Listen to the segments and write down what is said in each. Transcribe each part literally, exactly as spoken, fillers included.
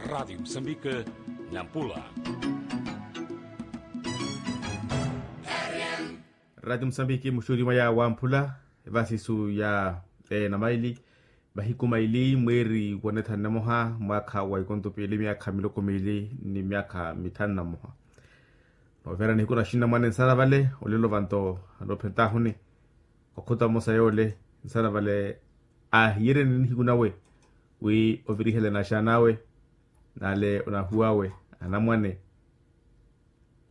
Rati musambike, nampula. Rati musambike muxuti mwaya wamphula, evasisu ya ena maili, mahiku maili mweeri wa nithanu na moha mwaakha wa ikonto piili myaakha miloko miili ni myaakha mithanu na moha. Noovera nihiku na xinamwane nsana vale olelo vanto, anoophentahuni okhuta mmosa yoole nsana vale, aahiyereni nihiku nawe wi ovirihela na axaana awe, nale onahuwawe anamwane.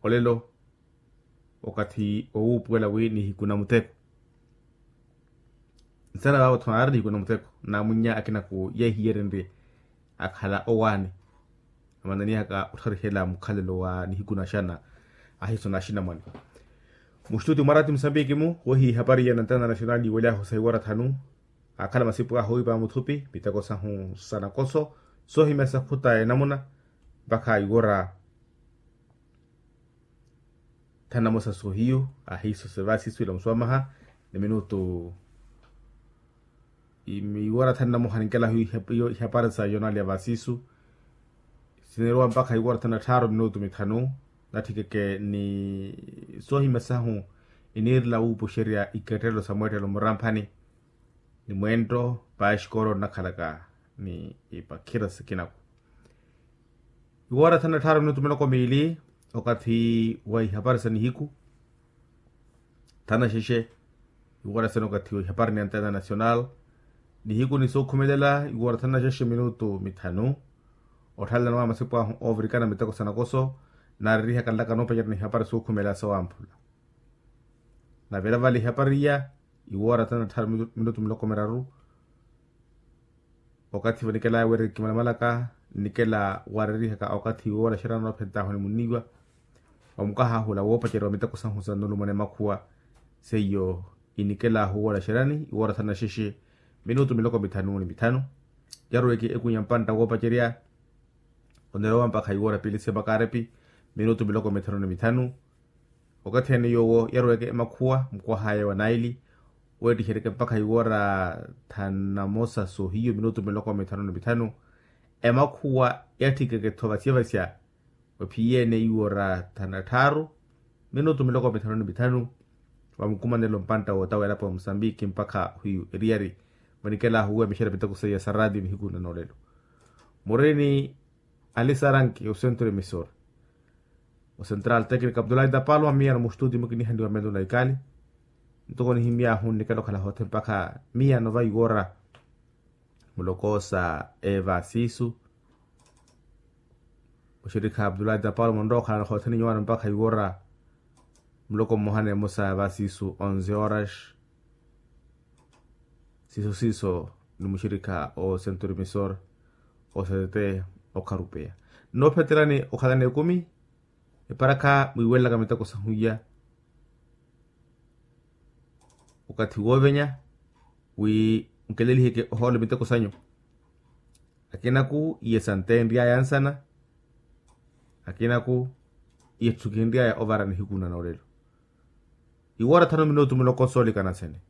Olelo okathi owuupuwela wi nihiku na muteko. Nsana vaavo-tho aari nihiku na muteko, naamwinnya akinaku yeehiyerenrye akhala owaani. Amananihaka ottharihela mukhalelo wa nihiku na axana ahiiso na axinamwane. Muxituti mwarati musambiki-mu wohiya ihapari ya nantana national yiwelyahu sa iwara thanu, akhala masipu ahu ipa muthupi miteko sahu sa nakoso, soohimya sakhuta enamuna mpakha iwara thanu na mosa soohiyu ahiiso sevasisu ila muswamaha ni minutu. Iwara thanu na moha ninkelahu ihapari sa yonali ya vasisu, sineerowa mpakha iwara thanu na tthaaru minutu mithanu. Natthikeke ni soohimya sahu iniirela wuupuxerya ikettelelo sa mweettelo muramphani ni mweento paaxikoolo nnakhalaka ni ipakhira sikinaku. Iwara thanu na tthaaru minutu miloko miili okathi wa ihapari sa nihiku. Thanu na xexe iwara sene okathi wa ihapari ni antena national. Nihiku ni sookhumelela iwara thanu na xexe minutu mithanu. Otthalelana wa masipu ahu oovirikana miteko sa nakoso, naarerihaka nlaka noopacerya ni ihapari sookhumelela sowamphula. Navela vale ihapari iya iwara thanu na tthaaru minutu miloko miraru. Okathi vanikelaya wira kimalamalaka nnikela warerihaka okathi woola xerani noophentahu ni munniiwa. Wa mukahahula woopacerya wa miteko sahu sa nulumana emakhuwa seiyo inikelahu woola xerani iwara thanu na xexe minutu miloko mithanu ni mithanu. Yaruweke eku ya mpantta woopacerya onerowa mpakha iwara piili semakarepi minutu miloko mithanu ni mithanu. Okathi ene yoowo yaruweke emakhuwa mukwahaya wa naili weettiheryeke mpakha iwara thanu na mosa soohiyu minutu miloko mithanu ni mithanu. Emakhuwa yatthikeke-tho vasyavasya ophiyeene iwara thanu na tthaaru minutu miloko mithanu ni mithanu. Wa mukumanelo mpantta wootawa elapo ya musambiki mpakha ohiyu eriyari. Vanikelahu wemixerya miteko seiya sa raatiyo nihiku na noolelo. Murini alisaranki osentro emisora, osentral tecnica abdulahi tapalwa miya na muxituti mukinihaniwa melo na ikali. Ntoko nihimyahu nnikela okhala hoothe mpakha miya nova iwora muloko sa evasisu. Muxirikha abdulahi tapalwa munrowa okhala hoothe ninyowana mpakha iwora muloko mmoha neemosa evasisu onze horas. Siiso siiso ni muxirikha o centro emisor o ctt okharupeya. Nnoophetelani okhalani ekumi eparakha mwiiwelelaka miteko sahu iya okathi woovenya wi nkeleliheke ohoolo miteko sanyu. Akinaku iye santeenry'aya ansana. Akinaku iye tthukinry'aya ovara nihiku na noolelo. Iwora thanu minutu muloko soolikana sene.